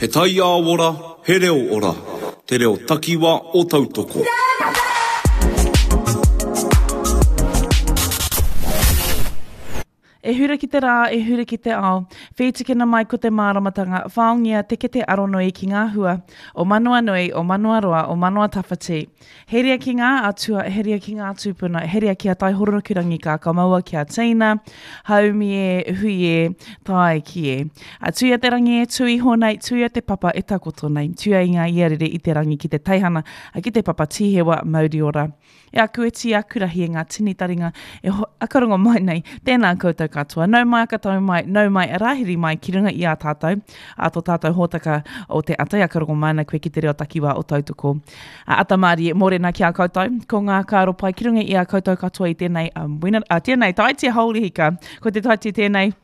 He taiao ora, he reo ora, te reo takiwa o Tautoko. E hura ki te rā, e hura ki te ao, whītikina mai ko te māramatanga, whaongia te kete aronui ki ngā hua, o Manawanui, o Manawaroa, o Manawatawhiti. Heria ki ngā atua, heria ki ngā tūpuna, heria ki a Taihoronukurangi ka kamaua ki a Tina, haumi e, hui e, tae ki e. A tuia te rangi e tū iho nei, tuia te papa e takoto nei, tuia i ngā iarere i te rangi ki te teihana, a ki te papa tīhewa mauri ora. E aku e tī, aku rahi e ngā tini taringa e akarongo mai nei, tēnā koutou katoa. Nau mai, akatau mai, nau mai, rāhiri mai ki runga i a tātou, a tō tātou hōtaka o te ata i akarongo mai ana koe ki te reo takiwā o Tautoko. A ata mārie, mōrena ki a koutou, ko ngā kāro pai ki runga i a koutou katoa i tēnei, um, wena, uh, tēnei taiti haurihika, ko te taiti tēnei,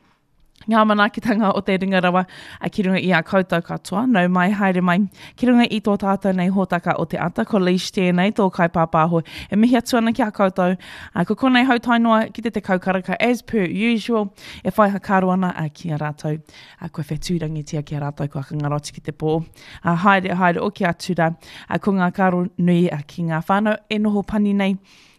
ngā manaakitanga o te ringa rawa a ki runga i a koutou katoa. Nau mai, haere mai, ki runga i tō tātou nei hōtaka o te ata, ko Leish tēnei, tō kaipāpāho. E mihi atu ana ki a koutou. A, ko konei hau tae noa ki te tekau karaka as per usual, e whai hakaaro ana a, ki a rātou. A, kua whetūrangitia ki a rātou, kua kangaro atu ki te pō. A, haere, haere, oki atu rā. A, ko ngā karo nui a, ki ngā whānau e noho pani nei,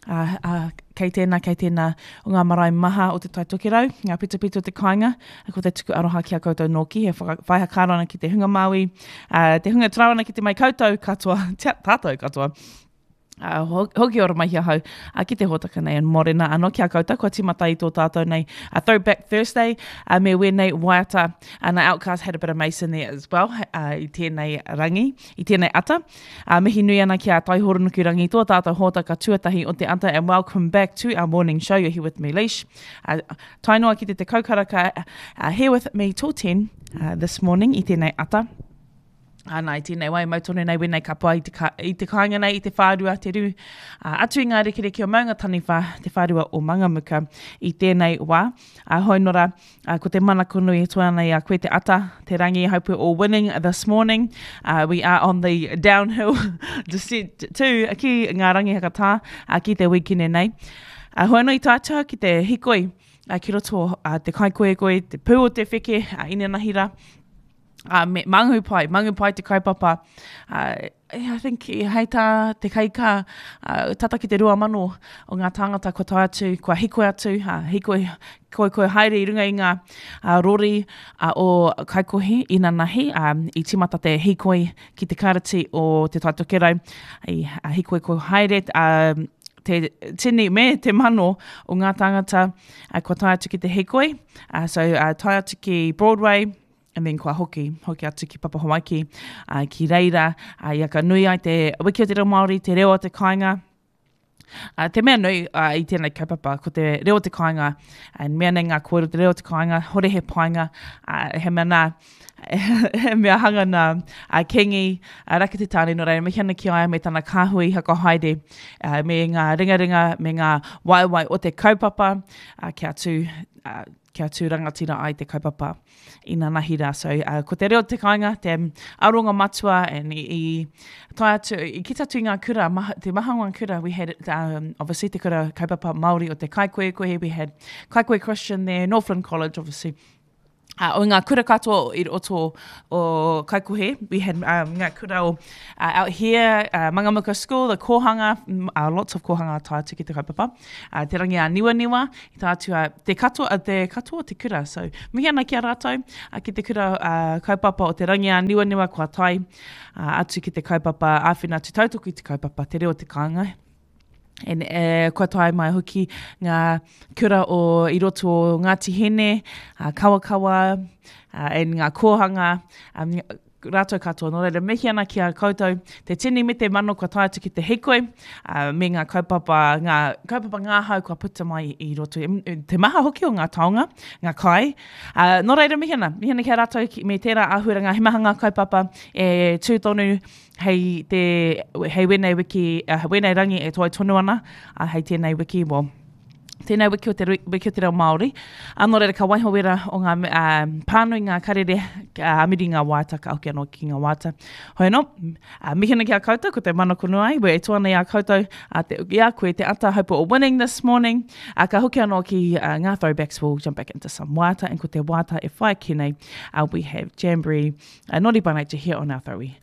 ā, ā, kei tēnā, kei tēnā o ngā marae maha o Te Tai Tokerau, ngā pitopito o te kāinga, ko te tuku aroha ki a koutou nōki, he whaka, whai hakaaro ana ki te hunga Māui, ā, te hunga tarau ana ki te mai koutou katoa, tia, tātou katoa. Uh, hoki ora mai ahau uh, ki te hōtaka nei and morena anō ki a koutou kua tīmata i tō tātou nei uh, Throwback Thursday uh, me wēnei waiata and uh, Outcast had a bit of Mason there as well uh, i tēnei rangi, i tēnei ata. Uh, mihi nui ana ki a Taihoronukurangi, tō tātou hōtaka tuatahi o te ata, and welcome back to our morning show. You're here with me, Leish. Uh, tae noa ki te tekau karaka, uh, here with me till 10 uh, this morning i tēnei ata. Ana, i tēnei wai, mau tonu nei wēnei kapa i te, ka, i te kāinga nei, i te whārua, te rū, uh, atu i ngā rekereke o Maunga Taniwha, te whārua o Mangamuka i tēnei wā. Uh, hoi nora, Uh, ko te manako nui e toe ana i a koe te ata, te rangi, hope we're all winning this morning. Uh, we are on the downhill descent to ki ngā rangi hakatā, uh, ki te wikine nei. Uh, hoi anō i tātua ki te hikoi, uh, ki roto uh, te kaikoekoi, te pū o te wheke, uh, inanahira, uh, me Mangu Pai, Mangu Pai te kaupapa. Uh, I think hei tā te kaikā, uh, tata ki te 2000 o ngā tāngata kua tae atu, kua hikoi atu, uh, hikoi, koi haere i runga i ngā uh, rori uh, o Kaikohe inanahi, um, i tīmata te hikoi ki te kārati o Te Tai Tokerau, i uh, hikoi koi haere, uh, te tini me te mano o ngā tāngata uh, kua tae atu ki te hikoi. Uh, so, uh, tae atu ki Broadway, and then kua hoki, hoki atu ki Papa Hawaiki, uh, ki reira, uh, ia ka nui ai te wiki o te reo Māori, te reo o te kāinga, Uh, te mea nui uh, i tēnei kaupapa, ko te reo o te kāinga, and mea nei ngā kōrero te reo o te kāinga, hore he painga, uh, he mea nā, he mea hanga nā uh, Kingi, uh, Raki Te Tāne, nō reira, mihi ana ki a ia me tana kāhui hakahaere, uh, me ngā ringaringa, me ngā waewae o te kaupapa, uh, kia tū, uh, kia tū rangatira ai te kaupapa inanahi rā. So, uh, ko te reo te kāinga, te aronga matua, and i, i tae atu, i kita atu i ngā kura, maha, te maha o ngā kura, we had, um, obviously, te kura kaupapa Māori o te Kaikoekoe, we had Kaikoe Christian there, Northland College, obviously, Uh, o ngā kura katoa i roto o Kaikohe, we had um, ngā kura o uh, out here, uh, Mangamuka School, the kōhanga, mm, uh, lots of kōhanga tae atu ki te kaupapa, uh, te rangi a Niwaniwa, I tā atu a te katoa, a te katoa o te kura. So, mihi ana ki a rātou, a ki te kura uh, kaupapa o te rangi a Niwaniwa kua tae uh, atu ki te kaupapa āwhina atu tautoko i te kaupapa te reo te kāinga. And, uh, kua tae mai hoki ngā kura o i roto o Ngāti Hene, uh, Kawakawa, uh, and ngā kōhanga, um, rātou katoa. Nō reira, mihi ana ki a koutou, te tini me te mano kua tae atu ki te hikoi, uh, me ngā kaupapa, ngā kaupapa ngāhau kua puta mai i roto, te maha hoki o ngā taonga, ngā kai. Uh, nō reira, mihi ana, mihi ana ki a rātou ki, me tērā āhuaranga, he maha ngā kaupapa e tū tonu hei, te, hei wēnei wiki, uh, wēnei rangi e toe tonu ana, uh, hei tēnei wiki, well, Tēnei wiki o te, wiki o te reo Māori. A, nō reira, ka waiho wera o ngā uh, pānui ngā karere, uh, miri ngā wāta, ka hoki anō ki ngā wāta. Hoi anō, uh, mihi ana ki a koutou, ko te mana kono ai, we e toa nei a koutou, uh, te, i a koe, te ata, hope we're all winning this morning. Uh, ka hoki anō ki uh, ngā throwbacks, we'll jump back into some wāta, and ko te wāta e whai ki nei, uh, we have Jamboree, uh, Naughty by Nature here on our throwy.